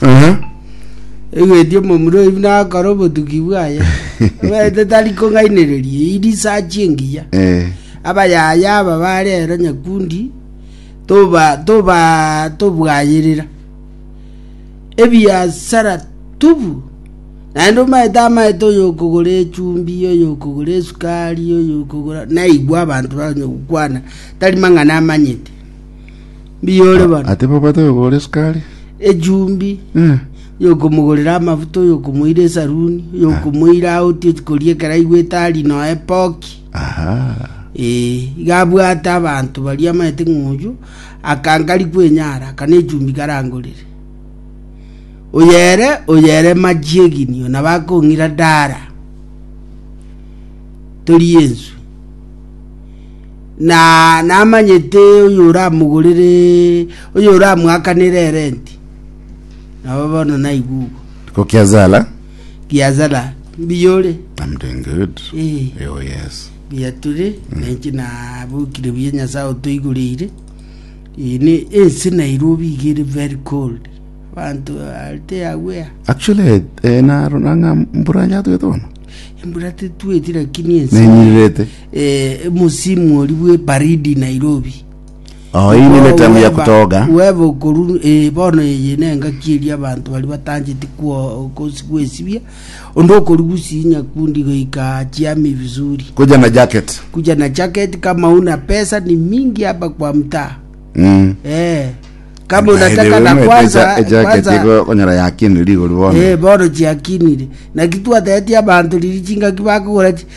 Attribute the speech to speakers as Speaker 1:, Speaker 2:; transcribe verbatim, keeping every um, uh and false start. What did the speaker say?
Speaker 1: Uh-huh.
Speaker 2: Egweti omomura oyo nakora obotuki bwaye. Obete tari kong'ainereria irisachi engiya.
Speaker 1: Eh.
Speaker 2: Abayaya aba barero Nyakundi toba toba tobwayerera ebiasara tubu, naende omaete amaete oyo okogora echumbi, oyo okogora esukari, oyo okogora naigwa abanto baonye gokwana tari mang'ana amanyete mbiyore bono.
Speaker 1: Ate babwate okogora esukari.
Speaker 2: Echumbi.
Speaker 1: Eh.
Speaker 2: Oyo okomogorera amafuta, oyo okomoira esaruni, oyo okomoira out ochi koria ekero aigwete ari noe poki.
Speaker 1: Aha.
Speaker 2: Ee, iga abwate abanto baria amaete ng'a oyio akankari kwenyara, aka nechumbi karangorere. Oyo ere, oyo ere machiegini, oyo nabo akong'ira dara. Torie enswe. Na namanyete oyo oramogorere, oyo oramwakanere erenti. Nabo bono naigwa igo.
Speaker 1: Ko kiazala.
Speaker 2: Kiazala, mbuya ore?
Speaker 1: I'm doing good.
Speaker 2: Eh.
Speaker 1: Oh yes.
Speaker 2: Mbuya tore, na inche nabokire buya Nyasae otoigoreire. Eye ne ense Nairobi iga ere very cold. Abanto are aware.
Speaker 1: Actually eh, narora ng'a mbura yatwete bono.
Speaker 2: Embura tetweti lakini ense
Speaker 1: Nenyirirete.
Speaker 2: eh, omusimu ori bwe baridi Nairobi.
Speaker 1: Oh, hii ni ile time ya
Speaker 2: Weba-
Speaker 1: kutoga.
Speaker 2: weba okoru eh, bono eye nengaki eria abanto baria batancheti kwo- kosi- gwesibia onde okorugusia Nyakundi goika chiami vizuri.
Speaker 1: Kuja na jacket.
Speaker 2: Kuja na jacket kama una pesa ni mingi hapa kwa mtaa.
Speaker 1: Mm.
Speaker 2: Eh, kama unataka na kwanza
Speaker 1: ejacket
Speaker 2: kwanza
Speaker 1: iko konyora yakinire rigori bono.
Speaker 2: Eh, bono chiakinire naki twatetie abanto riri chingaki bakogora chi-